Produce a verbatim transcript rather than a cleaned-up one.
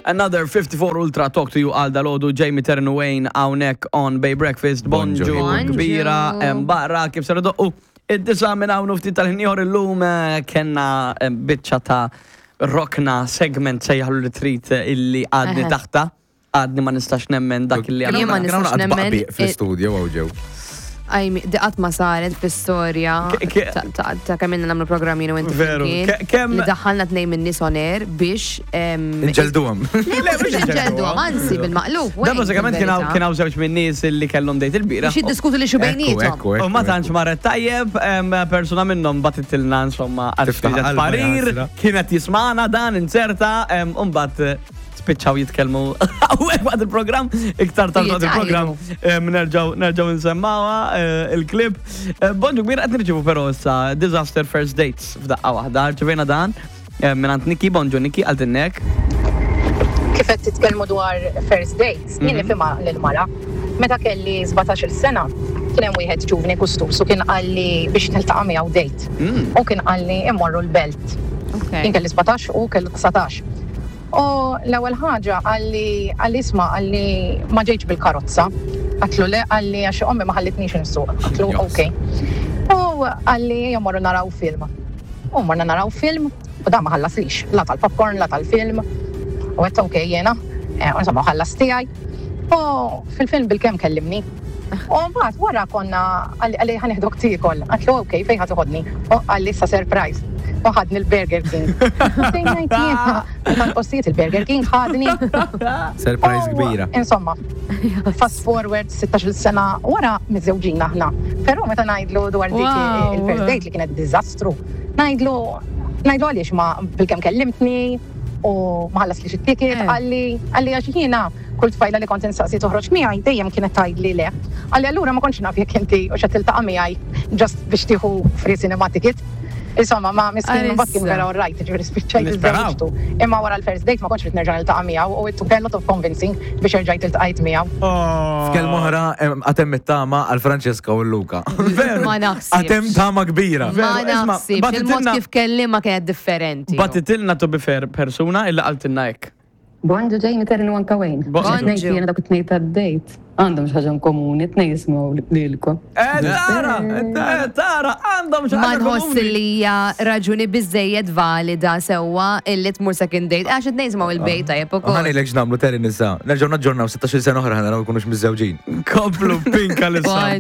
Another fifty-four Ultra talk to you għal dalgħodu, Jamie Taryn Wayne hawnhekk on Bay Breakfast. Bonġu Bonġu. Kbira em, barra kif ser doqqu id-disgħa minn hawn u ftit tal-ħin ieħor. Illum eh, kellna eh, biċċa ta' rokna, segment, sejjaħlu li trid, eh, illi għadni Eħe. taħta. Għadni ma nistax nemmen dak illi Jien ma għamilna. nistax nemmen. Fl-studio għaw ġew. Ajmi, di qatt ma saret fl-istorja Ke- ke- ta- ta' ta' kemm ilna nagħmlu programmi u inti Veru. flimkien, Ke- kemm- li daħħalna tnejn minn nies on air biex em, Nġelduhom. Le, mhux inġelduhom, anzi bil-maqlub. Da bażikament kien hawn kien hawn żewġ minn nies illi kellhom date il-bieraħ. Biex jiddiskutu li xu bejniethom. Ekku, U ma tantx marret tajjeb, em, persuna minnhom bagħtitilna insomma Tiftaħ għal qalbha, parir, jasra. kienet jismana dan inserta, em, u mbagħad eh, spiċċaw jitkellmu hawnhekk waqt il-programm, iktar tard waqt il-programm em, nerġgħu nerġgħu nsemmawha eh, il-klip. Eh, Bonġu kbir, qed nirċievu però issa disaster first dates f'daqqa waħda. Rċevejna dan eh, minn Niki. Bonġu Niki, għaltinnek. Kif qed titkellmu dwar first dates, jien nifhimha lil-mara. Meta kelli sbatax-il sena, kien hemm wieħed ġuvni kustus u kien qalli biex niltaqa' miegħu date. U kien qalli immorru l-Belt. Jien kelli sbatax u kellu dsatax. U l-ewwel ħaġa qalli qalli isma', qalli ma ġejtx bil-karozza. Għedtlu le, qalli għax ommi ma ħallitnix insuq. Għedtlu Yes. ok. U qalli jmorru naraw film. U morna naraw film u da ma ħallaslix, la tal-popcorn, la tal-film. U għedt ok jena, eh, u insomma ħallas tiegħi. U fil-film bil-kemm kellimni. U mbagħad wara konna qalli qalli ħa neħdok tiekol. Għedtlu ok, fejn ħa toħodni? U qalli issa surprise. U ħadni l-Burger King. Fejn ngħid jiena, tal-postijiet il-Burger King ħadni. Surprise U, kbira. Insomma, fast forward sittax-il sena wara, miżżewġin aħna. Però meta ngħidlu dwar dik Wow. il-first date li kienet diżastru, ngħidlu ngħidlu għaliex ma bil-kemm kellimtni u ma ħallas li ticket, Eh. qalli qalli għax jiena kull tfajla li kont insaqsi toħroġ miegħi dejjem kienet tgħidli le. Qalli allura ma kontx naf jekk inti u xa tiltaqa' miegħi just biex tieħu free cinema ticket. Insomma, ma miskin mbagħad kien Għalissa. vera alright, ġifieri spiċċajt Nisperaw. iżżewġtu. Imma wara l-first date ma kontx rid nerġa' niltaqa' miegħu u it took a lot of convincing biex erġajt iltqajt miegħu. F'kelma oħra, em, għad hemm it-tama għal Francesca u Luca. Veru. Ma naħsibx. Għad hemm tama kbira. Ma Veru, isma' naħsibx. Il-mod bagħtitilna- kif kellima kienet differenti. Bagħtitilna, to be fair, persuna illa qaltilna hekk. Bonġu Jamie, Taryn u anka Wayne. Bonġu. Tnejn jiena dak it-tnejn tad-date. Għandhom xi ħaġa komuni, tnejn jisimgħu lilkom. Eh, tara, eh, tara, għandhom xi Ma ħaġa nħoss komuni. li hija raġuni biżejjed valida sewwa illi tmur second date. Għax it-tnejn jisimgħu il-bejt tajjeb ukoll. Ħa ngħidlek x'nagħmlu, Taryn, issa. Nerġgħu naġġornaw sittax-il sena oħra, ħa naraw jkunux miżżewġin. Komplu pinka l